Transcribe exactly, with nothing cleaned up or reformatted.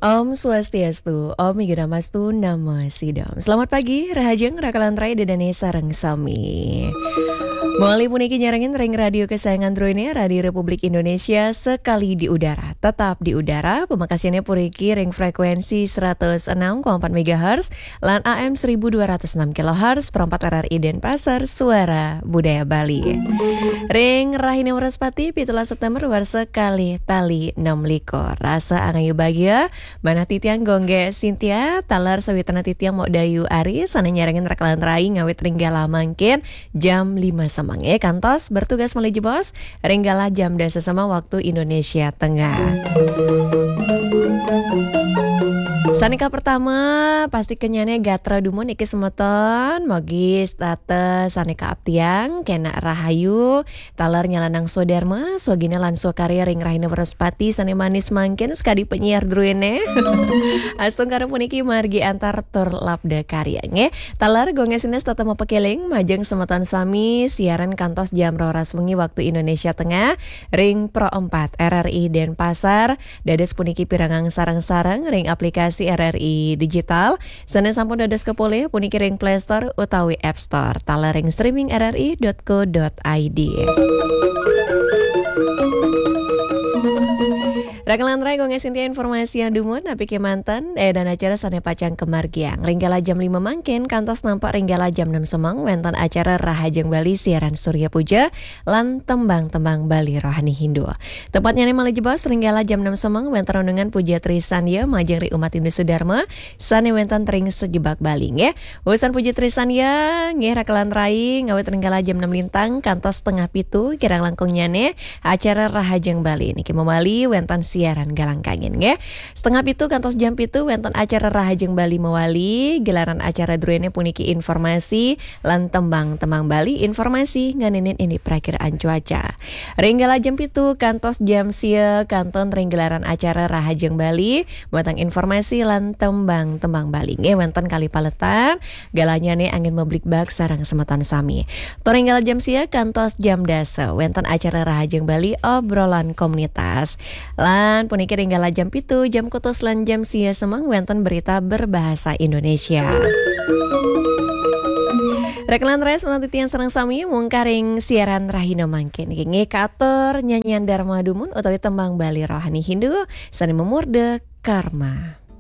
Om Swastiastu, Om Yudamastu Namo Sidom. Selamat pagi, rahajeng rakalan rai dedane sareng sami. Mawali puniki nyarengin ring radio kesayangan druene, Radio Republik Indonesia sekali di udara, tetap di udara, pemakasiannya puniki ring frekuensi seratus enam koma empat megahertz lan A M seribu dua ratus enam kilohertz, perempat R R I Denpasar, Suara Budaya Bali. Ring rahine Wrespati, pitulas September, warsa kalih tali enam likur. Rasa angayu bagia, manah titiang Gongge Sintia, taler sawitran titiang Mok Dayu Ari, sane nyarengin rakalan rai ngawit ring galah mangkin jam lima semeng, eh, kantos bertugas malih jebos ring galah jam dasa semeng waktu Indonesia Tengah. Sane kapertama, pasti kenyane gatra dumun niki semeton, mogi setata sane kaaptiang, kenak rahayu, taler nyalanang swadarma, swagina lan swakarya ring rahina Wrespati sane manis mangkin sakadi penyiar druene. Astungkara puniki margi antar tur labda karya, nggih. Taler Gongge Sintia setata mapakeling majeng semeton sami siaran kantos jam roras wengi waktu Indonesia Tengah ring Pro empat R R I Denpasar, dados puniki pirengang sareng-sareng ring aplikasi R R I Digital, sane sampun dados kapolih puniki ring Play Store utawi App Store, taler ring streaming R R I dot co dot I D. Rakalan rai, Gongge Sintia informasiang dumun, napi kemanten, eh, dan acara sane pacang kamargiang. Ring galah jam lima mangkin, kantos nampak ring galah jam enam semeng, wenten acara Rahajeng Bali siaran Surya Puja, lan tembang-tembang Bali rohani Hindu. Tepatnyane malih jebos ring galah jam enam semeng wenten renungan Puja Trisandya majeng ring umat Hindu Sudarma sane wenten ring sajebag Bali, nggih. Wusan Puja Trisandya, nggih, rakalan rai, ngawit ring galah jam enam lintang kantos setengah pitu kirang langkungnyane acara Rahajeng Bali niki mawali wenten siaran galang kangin, nggih. Setengah pitu kantos jam pitu wenten acara Rahajeng Bali mawali, gelaran acara druene puniki informasi, lan tembang-tembang Bali, informasi ngeninin indik prakiraan cuaca. Ring galah jam pitu kantos jam sia kantun ring gelaran acara Rahajeng Bali, wenten informasi lan tembang-tembang Bali. Nggih, wenten kalih paletan, galahnyane anggen mabligbagan sareng semeton sami. Tur ring galah jam sia kantos jam dasa, wenten acara Rahajeng Bali, obrolan komunitas. Lan puniki ring galah jam pitu, jam kutus lan jam sia semeng wenten berita berbahasa Indonesia. Rakalan rai, semeton titiang sareng sami mungkah ring siaran rahina mangkin. Nggih, katur nyanyian Dharma dumun utawi tembang Bali rohani Hindu sane mamurda Karma.